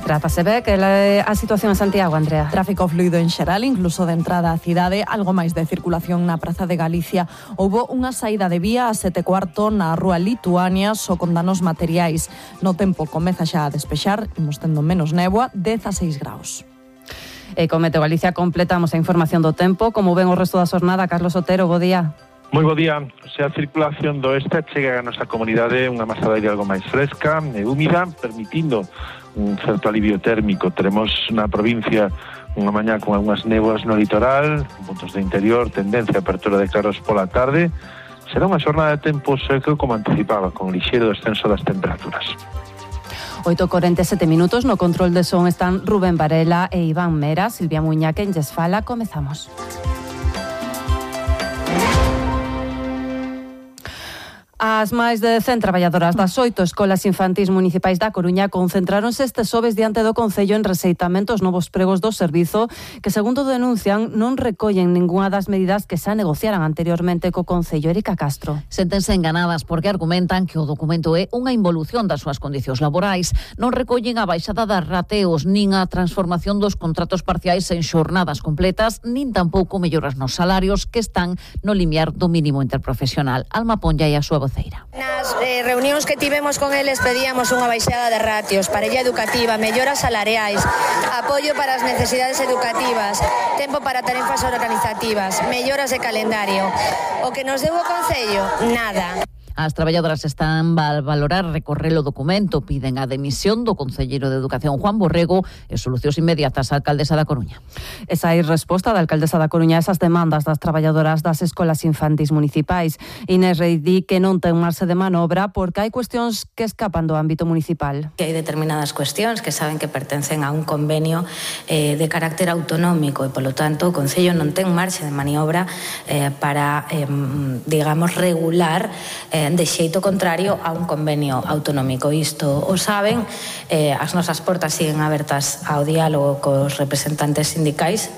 Trátase ben que a situación en Santiago, Andrea. Tráfico fluido en xeral, incluso de entrada á cidade, algo máis de circulación na Praza de Galicia. Houbo unha saída de vía a 7:15 na Rúa Lituania, só con danos materiais. No tempo comeza xa a despexar, imos tendo menos néboa, 16 graus. E con Meteo Galicia completamos a información do tempo. Como ven o resto da xornada, Carlos Otero, bo día. Moi bo día. A circulación do oeste chega a nosa comunidade unha masa de aire algo máis fresca e húmida, permitindo un certo alivio térmico. Teremos na provincia unha mañá con algunhas néboas no litoral, en puntos de interior, tendencia a apertura de claros pola tarde. Será unha xornada de tempo seco como anticipaba, con lixeiro descenso das temperaturas. 8:47 minutos, no control de son están Rubén Varela e Iván Mera. Silvia Muña, quen lles fala, comezamos. As máis de 100 traballadoras das 8 escolas infantís municipais da Coruña concentráronse este xoves diante do Concello en rexeitamento aos novos pregos do servizo que, segundo denuncian, non recollen ningunha das medidas que xa negociaran anteriormente co Concello. Erika Castro. Séntense enganadas porque argumentan que o documento é unha involución das súas condicións laborais. Non recollen a baixada das rateos, nin a transformación dos contratos parciais en xornadas completas, nin tampouco melloras nos salarios que están no limiar do mínimo interprofesional. Alma Ponlla e a súa Nas reunións que tivemos con eles pedíamos unha baixada de ratios, parella educativa, melloras salariais, apoio para as necesidades educativas, tempo para tarefas organizativas, melloras de calendario. O que nos deu o Concello, nada. As traballadoras están a valorar recorrer o documento, piden a demisión do concelleiro de Educación Juan Borrego e solucións inmediatas á alcaldesa da Coruña. Esa é resposta da alcaldesa da Coruña a esas demandas das traballadoras das escolas infantís municipais. Inés Rei di que non ten marxe de manobra porque hai cuestións que escapan do ámbito municipal. Que hai determinadas cuestións que saben que pertencen a un convenio de carácter autonómico e, polo tanto, o Concello non ten marxe de maniobra para, digamos, regular de xeito contrario a un convenio autonómico. Isto o saben, as nosas portas siguen abertas ao diálogo cos representantes sindicais.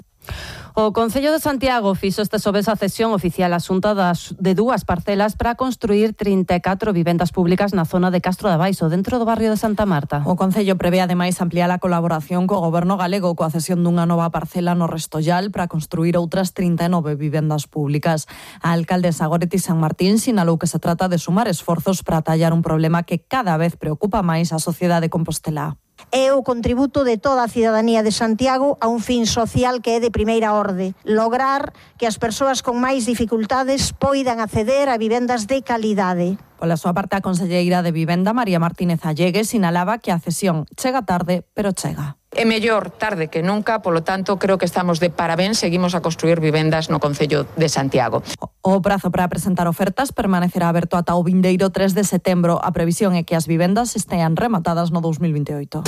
O Concello de Santiago fixo este xoves a cesión oficial asunta de dúas parcelas para construir 34 vivendas públicas na zona de Castro de Baixo, dentro do barrio de Santa Marta. O Concello prevé ademais ampliar a colaboración co Goberno galego coa cesión dunha nova parcela no Restollal para construir outras 39 vivendas públicas. A alcaldesa Goretti San Martín sinalou que se trata de sumar esforzos para atallar un problema que cada vez preocupa máis a sociedade compostelá. É o contributo de toda a cidadanía de Santiago a un fin social que é de primeira orde. Lograr que as persoas con máis dificultades poidan acceder a vivendas de calidade. Pola súa parte, a conselleira de Vivenda, María Martínez Allegues, sinalaba que a cesión chega tarde, pero chega. É mellor tarde que nunca, polo tanto, creo que estamos de parabéns, seguimos a construir vivendas no Concello de Santiago. O prazo para presentar ofertas permanecerá aberto ata o vindeiro 3 de setembro. A previsión é que as vivendas estean rematadas no 2028.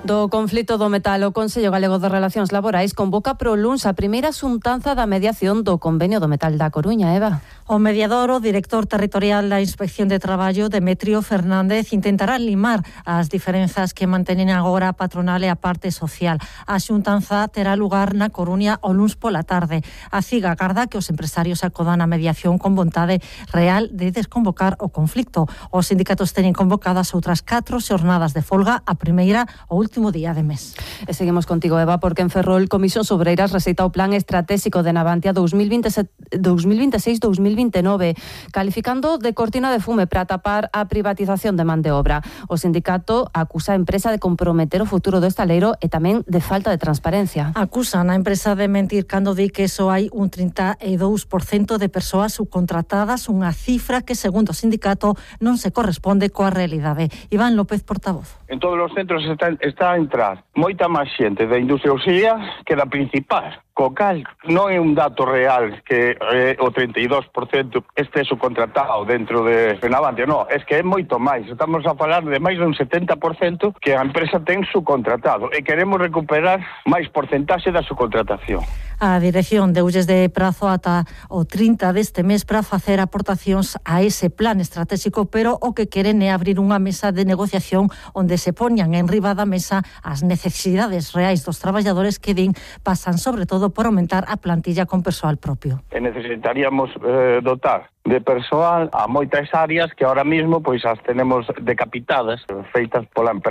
Do conflito do metal, o Consello Galego de Relacións Laborais convoca pro luns a primeira xuntanza da mediación do Convenio do Metal da Coruña, Eva. O mediador, o director territorial da Inspección de Traballo, Demetrio Fernández, intentará limar as diferenzas que mantenen agora a patronal e a parte social. A xuntanza terá lugar na Coruña o luns pola tarde. A CIG agarda que os empresarios acodan a mediación con vontade real de desconvocar o conflicto. Os sindicatos teñen convocadas outras 4 xornadas de folga, a primeira o último día de mes. E seguimos contigo, Eva, porque en Ferrol Comisións Obreiras receita o plan estratégico de Navantia 2026-2029, calificando de cortina de fume para tapar a privatización de man de obra. O sindicato acusa a empresa de comprometer o futuro do estaleiro e tamén de falta de transparencia. Acusan a empresa de mentir cando di que só hai un 32% de persoas subcontratadas, unha cifra que, segundo o sindicato, non se corresponde coa realidade. Iván López, portavoz. En todos os centros está a entrar moita máis xente da industria auxiliar que da principal. Co cal non é un dato real que o 32% este subcontratado dentro de Navantia, non, é que é moito máis. Estamos a falar de máis dun 70% que a empresa ten subcontratado e queremos recuperar máis porcentaxe da subcontratación. A dirección deulles de prazo ata o 30 deste mes para facer aportacións a ese plan estratégico, pero o que queren é abrir unha mesa de negociación onde se poñan en riba da mesa as necesidades reais dos traballadores que din pasan sobre todo por aumentar a plantilla con persoal propio. Necesitaríamos dotar de persoal a moitas áreas que ahora mismo pois as tenemos decapitadas, feitas pola empresa.